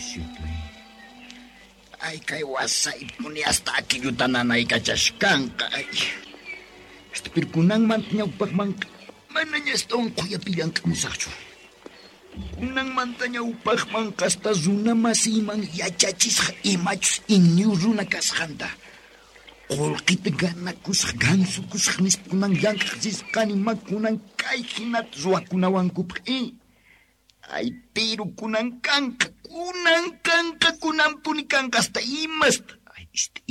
cierto. Ay, kay wasaypuni hasta aquilluta nanaykachashkanqa. Ay. Hasta pero kunanmanta ñawpaqmanqa manaña astawan qhuyapi llank'amusaqchu. Kunanmanta ñawpaqmanqa hasta runa masiyman yachachisqa imachus iñu runa kasqanta. Qullqita ganakusaq, gansukusaq nispa kunan llank'aq risqani ma kunan kay hinata ruwakunawankupaq Ay, pero kunan kanqa, kunan kanqa, kunanpuni kanqa hasta imasta. Ay,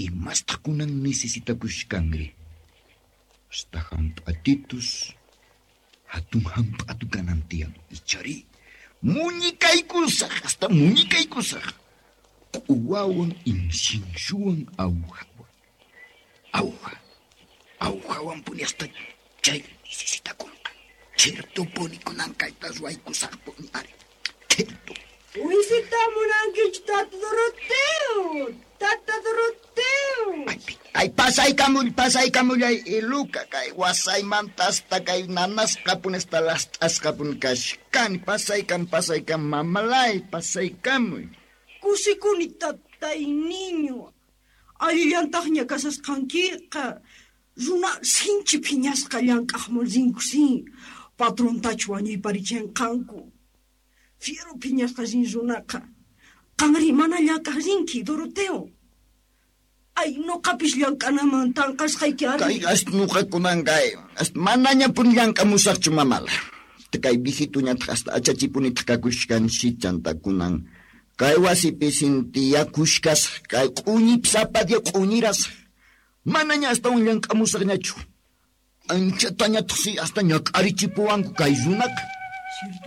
imasta kunan necesitakushkanri. Hasta hamp'atitus, hatun hamp'atu kanan tiyan. Ichari, muñikaykusaq, hasta muñikaykusaq. Q'uwawan inciensuwan awjawan. Awja, awjawanpuni hasta chay necesitakunqa. Ciertopuni kunan kayta ruwaykusaqpuni ari. Cierto. Wisita munankichu, Tata Doroteo? Tata Doroteo. Ay, pasaykamull, pasaykamullay, Iluka, kay wasaymanta hasta kay nanasqapuni hasta last'asqapuni kashkani. Pasaykam, pasaykam, mamalay, pasaykamuy. Kusikuni, tatay niño. Allillantaqña kasasqankiqa. Runa sinchi phiñasqa llank'aqman rinkusin. Patrontachu wañuyparichinqanku. Fiero phiñasqa rin runaqa. Qanri mana llank'aq rinki, Doroteo. Ay, nuqapis llank'anaman tanqasqayki ari. Kay hasta nuqakunan kay, hasta manañapuni llank'amusaqchu, mamala. Kay viejituñataq hasta achachipunitaq kakushkansi chanta kunan. Kay wasipi sintiyakushkasaq, kay q'uñipi sapa día q'uñirasaq. Manaña astawan llank'amusaqñachu. Anchatañataq si hasta ñak'arichipuwanku kay runaqa.